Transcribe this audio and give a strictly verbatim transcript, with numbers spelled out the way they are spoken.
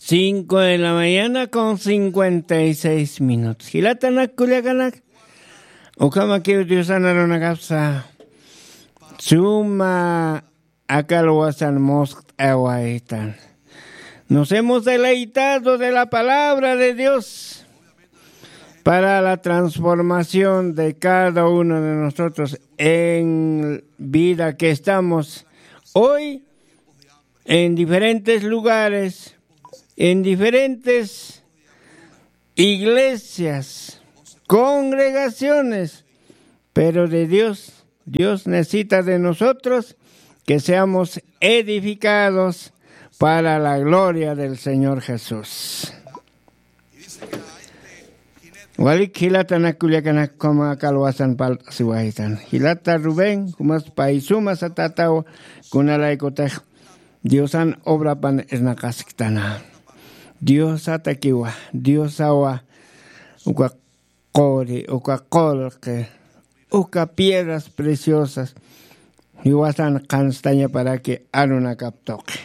Cinco de la mañana con cincuenta y seis minutos. Jilatanak kullakanak, ukhamakiw Diosan arunakapsa suma akalwasan muskt'awaytan. Nos hemos deleitado de la palabra de Dios para la transformación de cada uno de nosotros en vida que estamos hoy en diferentes lugares, en diferentes iglesias, congregaciones, pero de Dios, Dios necesita de nosotros que seamos edificados para la gloria del Señor Jesús. Walik jilatanak kullakanak, ukhama akalwasan palt'asiwaytan. Jilata Rubén, jumas pay suma satataw, kunalaykutix Diosan obrapan irnaqasktana. Diosatakiwa, Diosawa, uka quri, uka qullqi, uka piedras preciosas, jiwasan qhanstañaparaki arunakap tuqi.